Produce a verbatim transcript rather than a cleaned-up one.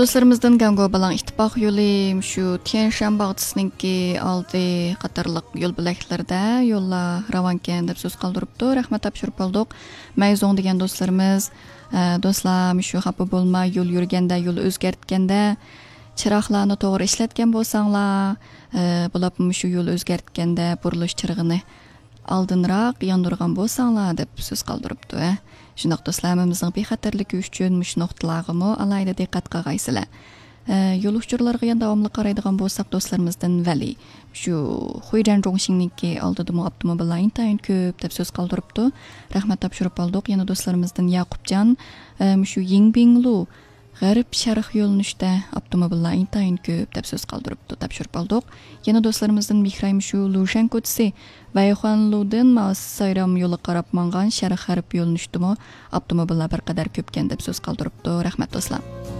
دوستلىرىمىزدىن گاڭگو بالاڭ ئىتتىپاق يولى، شۇ تيەنشان باغچىسىنىڭكى ئالدى قاتارلىق يول بۆلەكلىرىدە يوللار راۋانكەن دەپ سۆز قالدۇرۇپتۇ. رەھمەت تاپشۇرۇپ قالدۇق. مەيزوڭ دېگەن دوستلىرىمىز، ئە، دوستلار، مۇشۇ خاپا بولماي، يول يۈرگەندە، يول ئۆزگەرتكەندە، چىراغلارنى توغرا ئىشلەتكەن بولساڭلار، ئە، بولۇپمۇ مۇشۇ يول ئۆزگەرتكەندە بۇرۇلۇش چىرىغىنى ئالدىنراق ياندۇرغان بولساڭلار دەپ سۆز قالدۇرۇپتۇ، ھە. شۇنداق دوستلار، ھەممىمىزنىڭ بىخەتەرلىكى ئۈچۈن مۇشۇ نۇقتىلارغىمۇ ئالاھىدە دىققەت قىلغايسىلەر. ئە، يول ئۇچۇرلىرىغا يەنە داۋاملىق قارايدىغان بولساق، دوستلىرىمىزدىن ۋەلى، شۇ خۇيرەن جۇڭشىڭنىڭكى ئالدىدىمۇ ئاپتوموبىللار ئىنتايىن كۆپ دەپ سۆز قالدۇرۇپتۇ. رەھمەت تاپشۇرۇپ قالدۇق. يەنە دوستلىرىمىزدىن ياقۇپجان، ئە، مۇشۇ يىڭبىڭلۇ غەرب شەرق يۆنىلىشتە ئاپتوموبىللار ئىنتايىن كۆپ دەپ سۆز قالدۇرۇپتۇ، تاپشۇرۇپ ئالدۇق. يەنە دوستلىرىمىزدىن مىخرايىم شۇ لۇشەن كوچىسى ۋەيخۇەنلۇدىن ماۋ سايرام يولىغا قاراپ ماڭغان شەرق غەرب يۆنىلىشتىمۇ ئاپتوموبىللار بىر قەدەر كۆپكەن دەپ سۆز قالدۇرۇپتۇ. رەھمەت دوستلار.